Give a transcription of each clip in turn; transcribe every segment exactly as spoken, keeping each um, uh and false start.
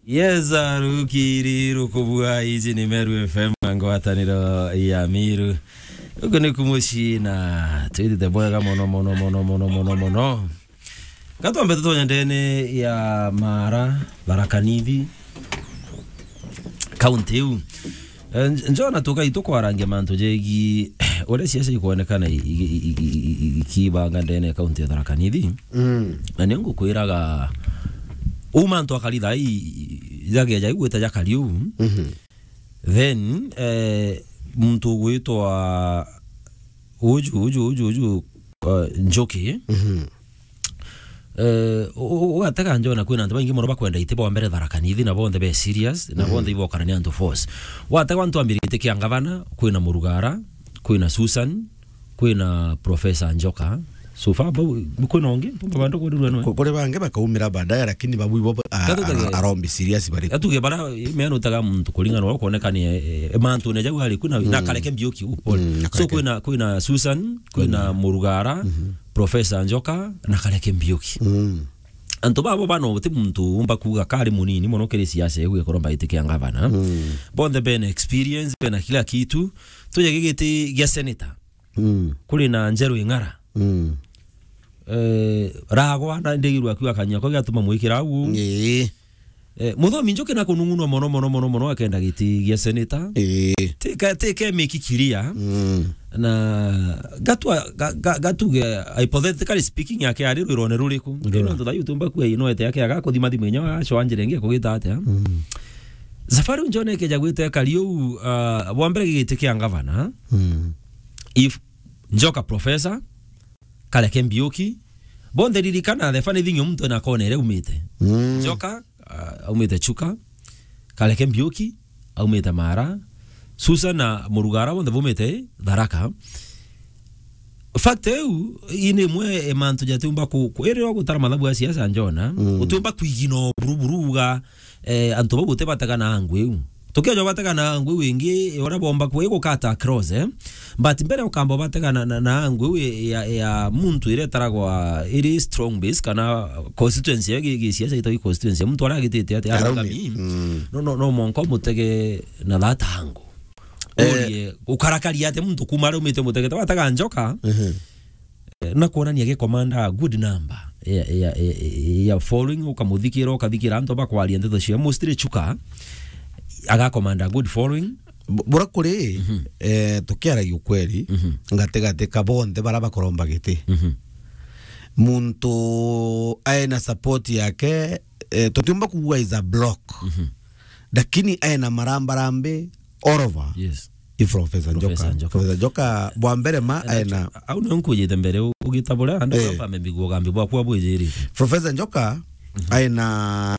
Yes, arukiri rukubua, iji ni Meru F M, ngwataniro ya Miru. Uku ni kumuci na twithite bwega mono, mono, mono, mono, mono, mono. Gatwambe tutonye ndene ya Mara, Tharaka Nithi, kaunti iu. Eh, nj-, njona tukai tukwarangia mantu jegi uria ciaca ikwonekana i-, i-, i-, i-, i-, i-, ikibanga ndene ya kaunti ya Tharaka Nithi. Mm. Na ni ngukwiraga, uu mantu akari thaa ii, jageja igwita jakari uu. Mhm. Then, eh, muntu ugwitwa uju, uju, uju, uju, uh, Njuki. Mhm. Eh, u-, u-, ugatega njona kwina antu baingi mono bakwenda iti bwa mbere Tharaka Nithi, na bonthe be serious, na bonthe ibokana ni antu force. Watega antu ambirite kia ngavana, kwina Murugara, kwina Susan, kwina Professor Njoka. So far, bau, kwina ungi, mpumba bandu kurirwa nwe. Ku-, kuri bangi bakaumira baadaye, lakini babu ibo, a-, Gatutege. a-, arombi serious bari. Atuge bara, meana utaga muntu kuringana na uria ukwoneka ni, eh, eh, mantu ne jau ari kwina, na Kareke Mbiuki, u, pole. Mm, na So Kareke. kwina, kwina Susan, kwina Murugara, Professor Njoka, na Kareke Mbiuki. Mm. Antu babo bano ti muntu umba kuuga kari munini mono kiri siasa iu ikorwo mbaitikia ngavana. Mm. Bonthe bena experience, bena kila kitu. Tuje gigiti gia senator. Mm. Kuri na Njeru Ing'ara. Mm. Eh, ragwa na ndigirwa akiuga kanyua ko giatuma mwikira au. Ii. Eh, Muthomi Njuki na kunung'unwa mono, mono, mono, mono akenda giti gia senator. Ii. Tika, tika miki kiria. Mm. Na gatua, ga-, ga-, gatuge, hypothetically speaking, yake ari rwirone ruriku? Rura. Ino ntutha yutumba kuya ino ete yake agakuthima thimu inya wa shoa njira ingi kugita atia? Mm. Safari unjone keja gwite kari uu, ah, bwa mbere gigiti kia ngavana. Mm. If Njoka Professor, Kareke Mbiuki, bonthe ririkana the funny thing, muntu ena kona iria umite. Mm. Njoka, ah, aumite Chuka, Kareke Mbiuki, aumite Mara, Susan na Murugara bonthe baumite Tharaka. Fact iu, ii ni imwe e mantu jatiumba ku-, ku-, iri wa gutara mathabu ya siasa njona, Mm. utiumba kwigina o buru buru uga, eh, antu bau utibatega na angu iu. Tukiaja batega na angu iu ingi, uria bomba kwi gukata across, eh. But mbere ukamba batega na, na, na angu iu ya, ya muntu iria itaragwa iri strong base kana constituency ya gi-, gisiasa itagwi constituency ya muntu aria agitite ati Arauni. Aragami. Mm. No, no, no mwanka umutege na that angu. Eh. Urie, ukarakaria atia muntu kuma aria umite mutegete, watega Njoka, Mhm. eh, na kuonania gi commander a good number ya, ya, ya, ya following, ukamuthikira, ukathikira antu bakwaria ndeto cia mostly Chuka, aga commander a good following. Bu-, bura kuri, Mhm. eh, tukiaragia ukweli, Mhm. gatigati ka bonthe bara bakoromba giti. Mhm. Muntu ae na support yake, eh, tutiumba kuuga is a block. Mhm. Lakini ae na marambarambi all over. Yes. I Professor Professor Njoka. Njoka. Professor Njoka, bwa mbere ma, ae na Au nio nkujite mbere, u-, ugita buria, andu Eh. baba mbigua ugambi bwakwa bwijirite. Professor Njoka, Mhm. ae na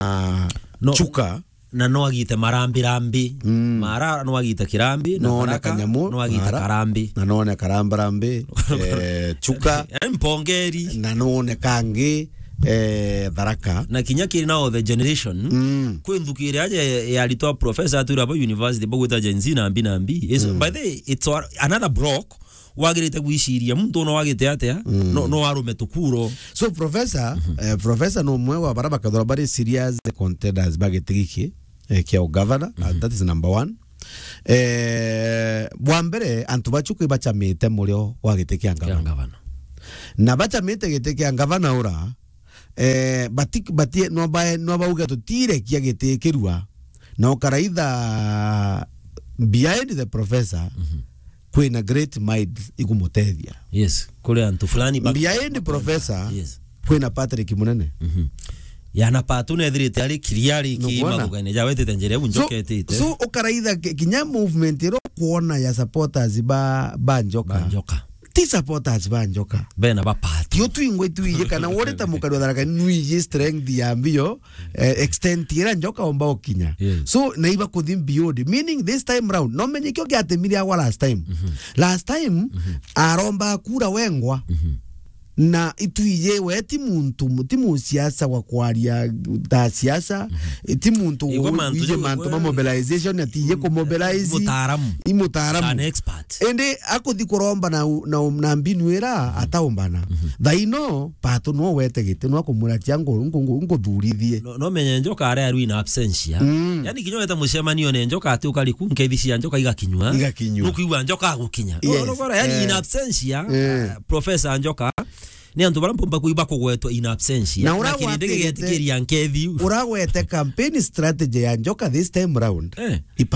No. Chuka. Na no agite marambi rambi. Mm. Mara no agite kirambi, na No one Tharaka kanyamu, no agite Mara. karambi. Na no one karambarambi, eh, Chuka. Eh, mpongeri. Na no one kangi, eh, Tharaka. Na kinya kiri now the generation, Mm. kwi nthuki iria aja ya, ya aritwa professor atwira ba university bagwita Gen Z na mbi na mbi. It's, Mm. by the way, it's a-, another block wagirite gwiciria muntu no agite atia, Mm. no, no arume tukuro. So, professor, Mhm. eh, professor no umwe wa bara bakathora bari serious contenders ba giti giki, eh, kia ugavana, Mhm. and that is number one. Eh, bwa mbere, antu bacu kwi bacamite murio wa giti kia Kia ngavana. ngavana. Na bacamite giti kia ngavana ura, eh, bati-, bati-, no bae-, no bauge tutirekia giti kirua, na ukaraitha behind the professor, Mhm. kwina great minds ikumutethia. Yes, kuri antu fulani ba- Behind professor, Yes. kwina Patrick Munene. Mhm. Yana Patu nethirite ari kiriari ki Nukwona? Mathugane ja wetite njira iu So, njoketite. so ukaraitha ki-, kinya movement iro kuona ya supporters ba, ba Njoka. Ba Njoka. Ti supporters ba Njoka. Bena ba Patu. Tio twingwe twije kana wore ta mukari wa Tharaka nwije strength ya mbio, eh, extent ira Njoka omba ukinya. Yes. So, na iba kuthi beyond. Meaning this time round, no menye kio giatemire agwa last time. Mhm. Last time, Mhm. aromba kura wengwa. Mhm. Na itwije we ti muntu, ti musiasa wa kwaria ta siasa, ti muntu Igwa mantu wije jo mantu ma mobilization, ati ije ku mobilize. Mutaaramu. I mutaaramu. An expert. Indi akuthi kuromba na u-, na u-, na mbinu ira ataumbana. Thaino, Pato no wete giti, no akumwira tia ngu-, ngu-, ngu-, nguthurithie. No, no menye Njoka aria arwi in absentia. Mm. Yani kinya weta mucemanio ne Njoka ati ukari ku, nkethi cia Njoka igakinywa. Igakinywa. Nukwigua Njoka agukinya. Yes. No, no, yani in Eh. absentia, Eh. uh, Professor Njoka, ni antu bara mpumba kuiba kugwetwa in absentia. Na Na ura kiri gwatigitie ndegegetikiria nkethi. Ura gwete campaign strategy ya Njoka this time round. Eh. Ipa